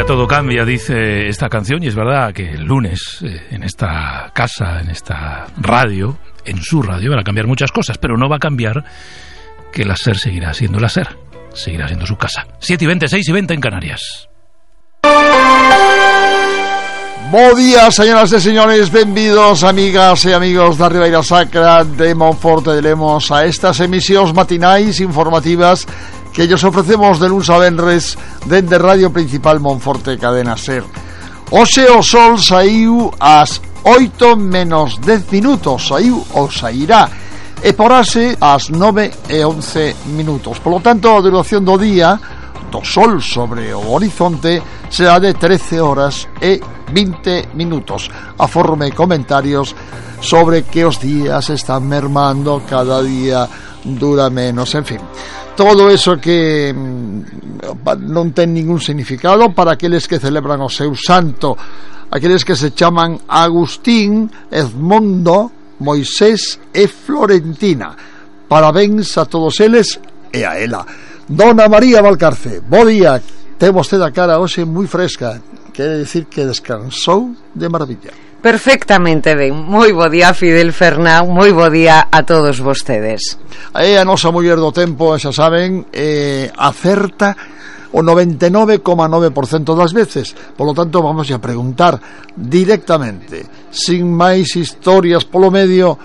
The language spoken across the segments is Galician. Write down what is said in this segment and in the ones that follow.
Todo cambia, dice esta canción, y es verdad que el lunes en esta casa, en esta radio, en su radio, van a cambiar muchas cosas, pero no va a cambiar que la SER seguirá siendo la SER, seguirá siendo su casa. 7:20, 6:20 en Canarias. Bo día, señoras e señores, benvidos, amigas e amigos da Ribeira Sacra de Monforte de Lemos, a estas emisións matinais informativas que ellos ofrecemos de luns a venres dende Radio Principal Monforte Cadena SER. Hoxe o sol saiu ás 8 menos 10 minutos, saiu ou sairá, e porase ás 9:11 minutos. Por lo tanto, a duración do día do sol sobre o horizonte será de 13 horas e 20 minutos. Aforme comentarios sobre que os días están mermando, cada día dura menos, en fin. Todo eso que non ten ningún significado para aqueles que celebran o seu santo, aqueles que se chaman Agustín, Edmondo, Moisés e Florentina. Parabéns a todos eles e a ela. Dona María Valcarce, bo día. Ten vostede a cara hoxe moi fresca, quere decir que descansou de maravilla. Perfectamente ben. Moi bo día, Fidel Fernán, moi bo día a todos vostedes. A nosa muller do tempo, xa saben, acerta o 99,9% das veces. Por lo tanto, vamos a preguntar directamente, sin máis historias polo medio,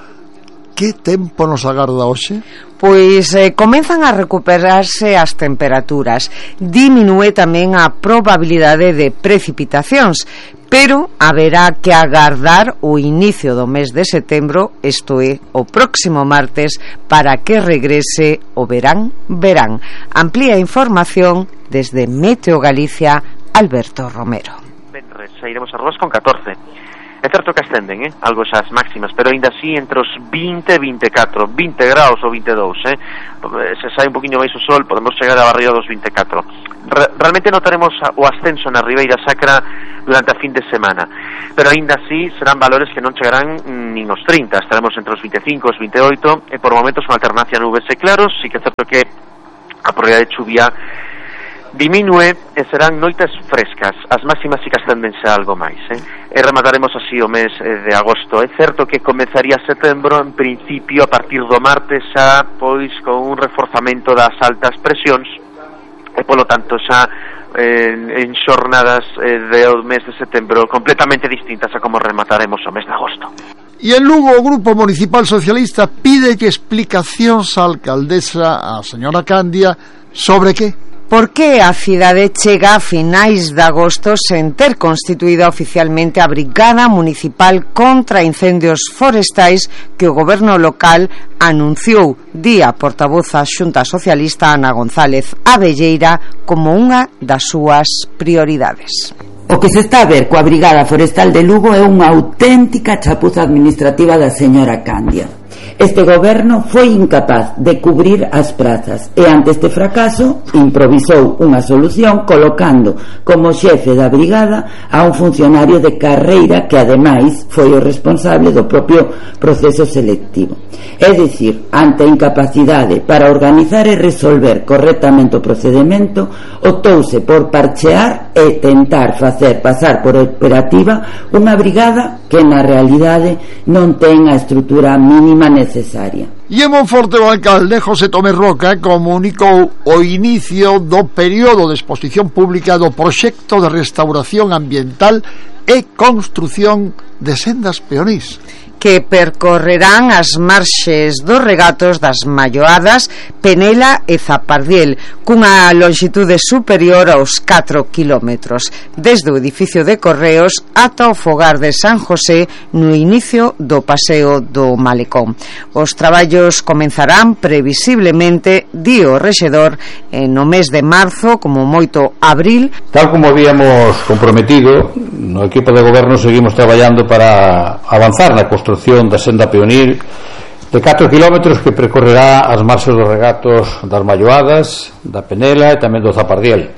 que tempo nos agarda hoxe? Pois comenzan a recuperarse as temperaturas, diminúe tamén a probabilidade de precipitacións, pero haberá que agardar o inicio do mes de setembro, isto é, o próximo martes, para que regrese o verán. Amplía a información desde Meteo Galicia, Alberto Romero. Sairemos a Rodas con 14. É certo que ascenden, algo esas máximas, pero ainda así entre os 20 e 24, 20 graus ou 22, se sai un poquinho máis o sol, podemos chegar a barriga dos 24. Realmente notaremos o ascenso na Ribeira Sacra durante a fin de semana, pero ainda así serán valores que non chegarán nin os 30, estaremos entre os 25 e os 28, e por momentos unha alternancia nubes e claros. Sí que é certo que a probabilidade de chuvia diminúe e serán noites frescas, as máximas sí que ascendense algo máis, e remataremos así o mes de agosto. É certo que comenzaría setembro, en principio, a partir do martes xa, pois, con un reforzamento das altas presións, e polo tanto xa en xornadas do mes de setembro completamente distintas a como remataremos o mes de agosto. E en Lugo, o Grupo Municipal Socialista pide explicacións á alcaldesa, a señora Candia, sobre que? Por que a cidade chega a finais de agosto sen ter constituída oficialmente a Brigada Municipal contra Incendios Forestais que o goberno local anunciou día portavoz a Xunta Socialista Ana González Abelleira como unha das súas prioridades? O que se está a ver coa Brigada Forestal de Lugo é unha auténtica chapuza administrativa da señora Candia. Este goberno foi incapaz de cubrir as prazas e ante este fracaso improvisou unha solución colocando como xefe da brigada a un funcionario de carreira que ademais foi o responsable do propio proceso selectivo. É dicir, ante a incapacidade para organizar e resolver correctamente o procedimento, optouse por parchear e tentar facer pasar por operativa unha brigada que na realidade non ten a estrutura mínima necesaria. E en Monforte o alcalde José Tomé Roca comunicou o inicio do período de exposición pública do proxecto de restauración ambiental e construción de sendas peonís que percorrerán as marxes dos regatos das Malloadas, Penela e Zapardiel, cunha longitude superior aos 4 kilómetros, desde o edificio de Correos ata o fogar de San José no inicio do paseo do Malecón. Os traballos comenzarán previsiblemente, di o rexedor, no mes de marzo, como moito abril. Tal como habíamos comprometido, no equipo de goberno seguimos traballando para avanzar na construción da senda peonil de 4 kilómetros que percorrerá as marxes dos regatos das Malloadas, da Penela e tamén do Zapardiel.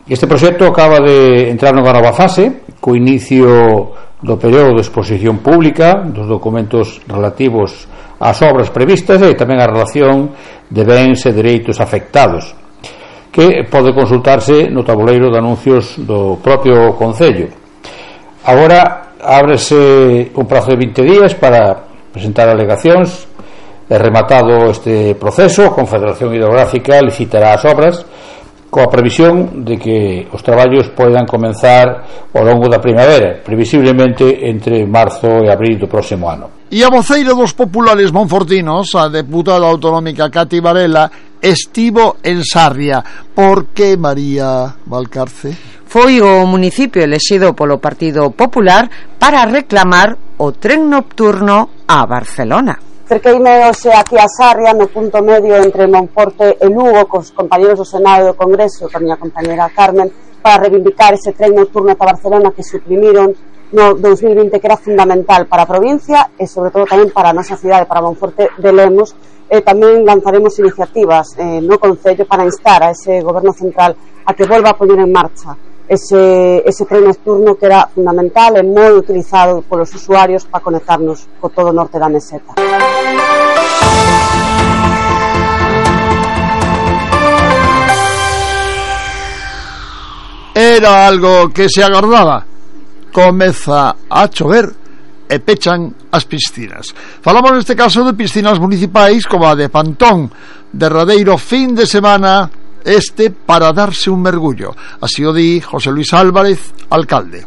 Este proxecto acaba de entrar nunha nova fase co inicio do período de exposición pública dos documentos relativos ás obras previstas e tamén a relación de bens e dereitos afectados. que pode consultarse no tabuleiro de anuncios do propio Concello. Agora ábrese un prazo de 20 días para presentar alegacións. Rematado este proceso, a Confederación Hidrográfica licitará as obras coa previsión de que os traballos poidan comenzar ao longo da primavera, previsiblemente entre marzo e abril do próximo ano. E a voceira dos populares monfortinos, a deputada autonómica Cati Varela, estivo en Sarria. Por que, María Valcarce? Foi o municipio elexido polo Partido Popular para reclamar o tren nocturno a Barcelona. Cerqueime hoxe aquí a Sarria, no punto medio entre Monforte e Lugo, cos compañeros do Senado e do Congreso, con a miña compañera Carmen, para reivindicar ese tren nocturno ata Barcelona que suprimiron no 2020, que era fundamental para a provincia e sobre todo tamén para a nosa cidade, para Monforte de Lemos. Tamén lanzaremos iniciativas no Concello para instar a ese goberno central a que volva a poñer en marcha ese tren nocturno que era fundamental e moi utilizado polos usuarios para conectarnos co todo o norte da meseta. Era algo que se agardaba. Comeza a chover e pechan as piscinas. Falamos neste caso de piscinas municipais como a de Pantón, derradeiro fin de semana para darse un mergullo. Así o di José Luis Álvarez, alcalde.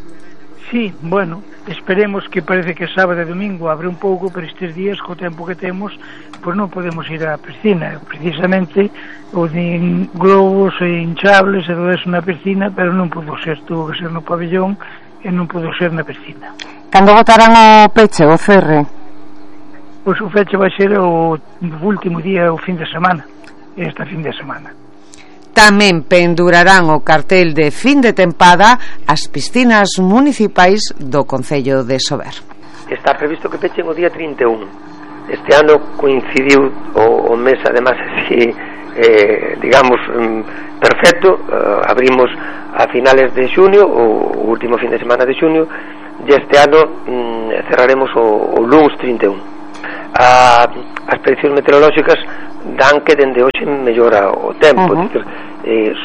Sí, bueno, esperemos que parece que sábado e domingo abre un pouco, pero estes días, co tempo que temos, pois non podemos ir á piscina. Precisamente, o de globos e hinchables e todo eso na piscina, pero non pudo ser, tuvo que ser no pabellón e non pudo ser na piscina. Cando botarán o peche, o cerre? Pois o feche vai ser o último día, o fin de semana, esta fin de semana. Tamén pendurarán o cartel de fin de tempada as piscinas municipais do Concello de Sober. Está previsto que pechen o día 31. Este ano coincidiu o mes, además, así, digamos, perfecto. Abrimos a finales de xuño, o último fin de semana de xuño, e este ano cerraremos o luns 31. As prediccións meteorolóxicas dan que dende hoxe mellora o tempo,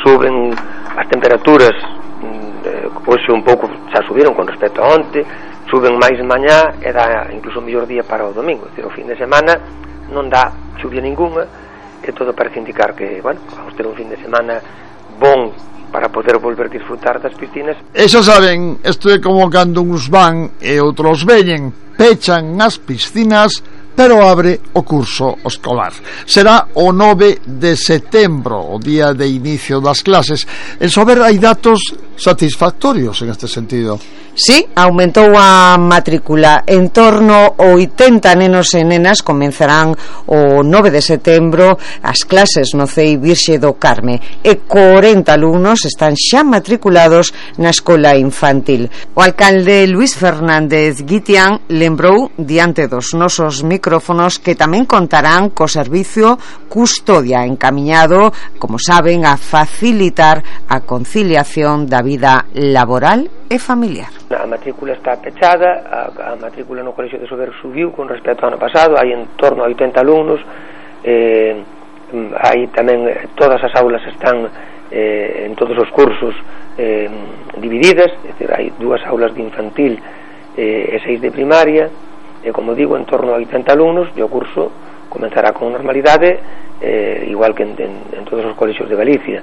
suben as temperaturas, hoxe un pouco xa subiron con respecto a onte, suben máis mañá e dá incluso mellor día para o domingo. O fin de semana non dá chuvia ninguna e todo parece indicar que, bueno, vamos ter un fin de semana bon para poder volver a disfrutar das piscinas. E xa saben, isto é como cando uns van e outros veñen, pechan as piscinas, pero abre o curso escolar. Será o 9 de setembro, o día de inicio das clases. En Sober hai datos satisfactorios en este sentido. Sí, aumentou a matrícula. En torno a 80 nenos e nenas comenzarán o 9 de setembro as clases no CEI Virxe do Carme e 40 alumnos están xa matriculados na escola infantil. O alcalde Luis Fernández Guitián lembrou diante dos nosos micrófonos que tamén contarán co servicio custodia encamiñado, como saben, a facilitar a conciliación da vida laboral e familiar. A matrícula está pechada, a matrícula no Colexio de Sober subiu con respecto ao ano pasado, hai en torno a 80 alumnos, hai tamén, todas as aulas están en todos os cursos divididas, é dicir, hai 2 aulas de infantil e 6 de primaria, e como digo, en torno a 80 alumnos, e o curso comenzará con normalidade, igual que en todos os colexios de Galicia.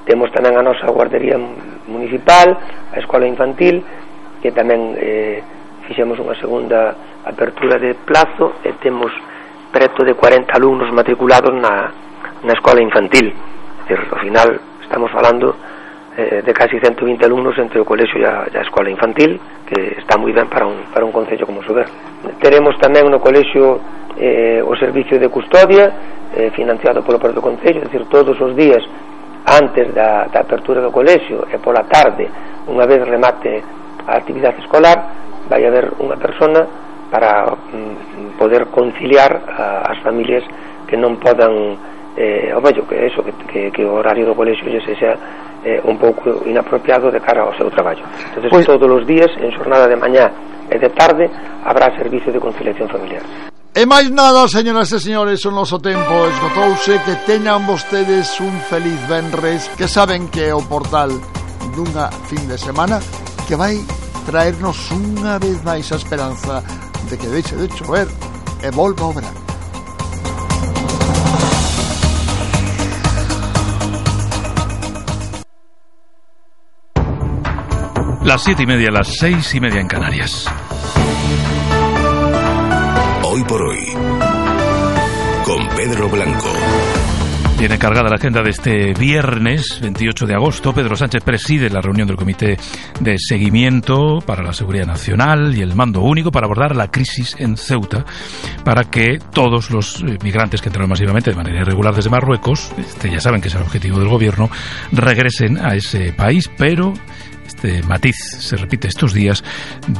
Temos tamén a nosa guardería municipal, a escola infantil, que tamén fixemos unha segunda apertura de plazo e temos preto de 40 alumnos matriculados na escola infantil. É dicir, ao final estamos falando de casi 120 alumnos entre o colexio e a escola infantil, que está moi ben para un concello como Sober. Teremos tamén no colexio o servicio de custodia financiado polo propio concello, é dicir, todos os días antes da apertura do colexio e pola tarde, unha vez remate a actividade escolar, vai haber unha persona para poder conciliar as familias que non podan que o horario do colexio lle sexa un pouco inapropiado de cara ao seu traballo. Entonces, todos os días, en xornada de mañá e de tarde, habrá servicio de conciliación familiar. E máis nada, señoras e señores, o noso tempo esgotouse. Que teñan vostedes un feliz venres, que saben que é o portal dunha fin de semana que vai traernos unha vez máis a esperanza de que deixe de chover e volva o verano. Las 7:30, las 6:30 en Canarias. Hoy por hoy, con Pedro Blanco. Tiene cargada la agenda de este viernes 28 de agosto. Pedro Sánchez preside la reunión del Comité de Seguimiento para la Seguridad Nacional y el Mando Único para abordar la crisis en Ceuta, para que todos los migrantes que entraron masivamente de manera irregular desde Marruecos, ya saben que es el objetivo del gobierno, regresen a ese país, pero este matiz se repite estos días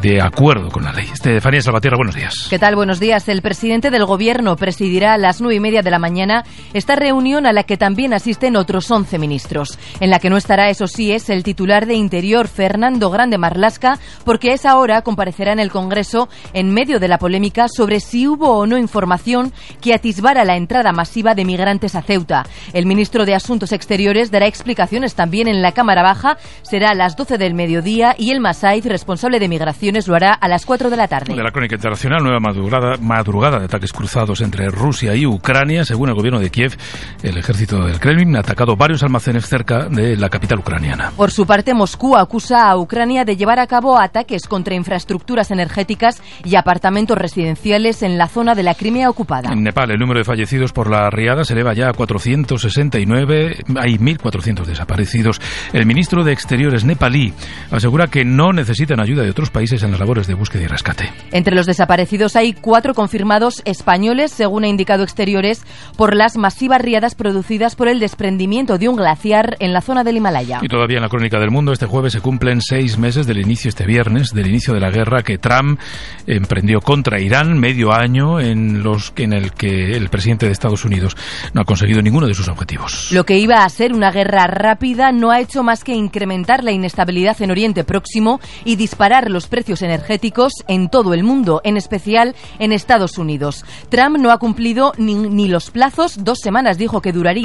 de acuerdo con la ley. Estefanía Salvatierra, buenos días. ¿Qué tal? Buenos días. El presidente del Gobierno presidirá a las 9:30 de la mañana esta reunión a la que también asisten otros 11 ministros. En la que no estará, eso sí, es el titular de Interior, Fernando Grande Marlaska, porque a esa hora comparecerá en el Congreso en medio de la polémica sobre si hubo o no información que atisbara la entrada masiva de migrantes a Ceuta. El ministro de Asuntos Exteriores dará explicaciones también en la Cámara Baja. Será a las 12 del mediodía y el Masaiz, responsable de migraciones, lo hará a las 4 de la tarde. De la crónica internacional, nueva madrugada de ataques cruzados entre Rusia y Ucrania. Según el gobierno de Kiev, el ejército del Kremlin ha atacado varios almacenes cerca de la capital ucraniana. Por su parte, Moscú acusa a Ucrania de llevar a cabo ataques contra infraestructuras energéticas y apartamentos residenciales en la zona de la Crimea ocupada. En Nepal, el número de fallecidos por la riada se eleva ya a 469. Hay 1.400 desaparecidos. El ministro de Exteriores nepalí asegura que no necesitan ayuda de otros países en las labores de búsqueda y rescate. Entre los desaparecidos hay 4 confirmados españoles, según ha indicado Exteriores, por las masivas riadas producidas por el desprendimiento de un glaciar en la zona del Himalaya. Y todavía en la crónica del mundo, este jueves se cumplen 6 meses del inicio, este viernes, del inicio de la guerra que Trump emprendió contra Irán, medio año en el que el presidente de Estados Unidos no ha conseguido ninguno de sus objetivos. Lo que iba a ser una guerra rápida no ha hecho más que incrementar la inestabilidad en Oriente Próximo y disparar los precios energéticos en todo el mundo, en especial en Estados Unidos. Trump no ha cumplido ni los plazos. 2 semanas dijo que duraría